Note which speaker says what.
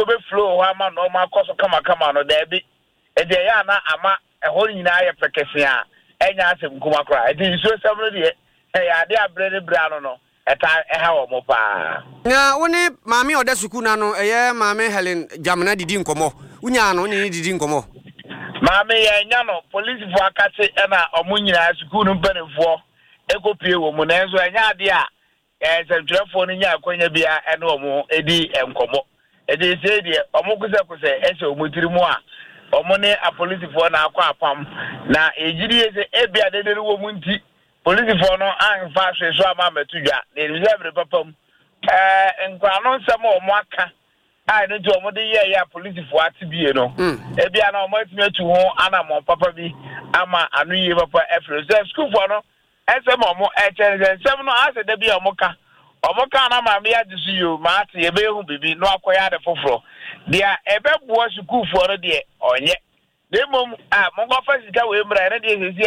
Speaker 1: Nsuo bɛ flow hɔ ama nnoɔma akɔ so kamakama no, daabi. Enti ɛyɛ a na ama ɛhɔ no nyinaa ayɛ pɛkɛsee a ɛnyɛ asɛm kuma koraa. Enti nsuosɛm no deɛ, ɛyɛ adeɛ a berɛ ne berɛ ano no, ɛtaa ɛha wɔn paa.
Speaker 2: Na wo ne maame a ɔda sukuu no ano, ɛyɛ Maame Helen Gyamena didi nkɔmmɔ? Wonyaa no, wo ne no didi nkɔmmɔ?
Speaker 1: Maame, yɛannya no. Polisifoɔ akakye na wɔn nyinaa, sukuu no mpanimfoɔ kɔpue wɔ mu. Nanso ɛnyɛ adeɛ a Nsɛntwerɛfoɔ no nya akwanya biara ne wɔn di nkɔmmɔ. Enti seesei deɛ, wɔkosɛkosɛ hyɛ wɔn tiri mu a, wɔn ne apolisifoɔ na akɔ apam. Na yɛgye die sɛ ebia dede no wɔ mu nti, polisifoɔ no amfa hwee so amma ammɛto dwa. Na yɛnim sɛ bere papa mu, ɛɛ nkorano nsɛm a wɔaka a ɛno nti wɔde yɛeɛ a polisifoɔ ate bie no, ebia na wɔatumi atu ho anammɔn papa bi ama ano yie papa afiri. Sɛ sukuufoɔ no Nsɛm a ɔmo ɛkyɛ ne sɛ nsɛm no asɛ da bi a ɔmo ka ɔmo ka na maame yi agye so yoo maate yɛbɛyɛ ho biribi na wakɔyɛ ade foforɔ. Deɛ ɛbɛboa sukuufoɔ no deɛ ɔnyɛ na mmom a monkɔfa sika wei mmra ɛno deɛ seesei.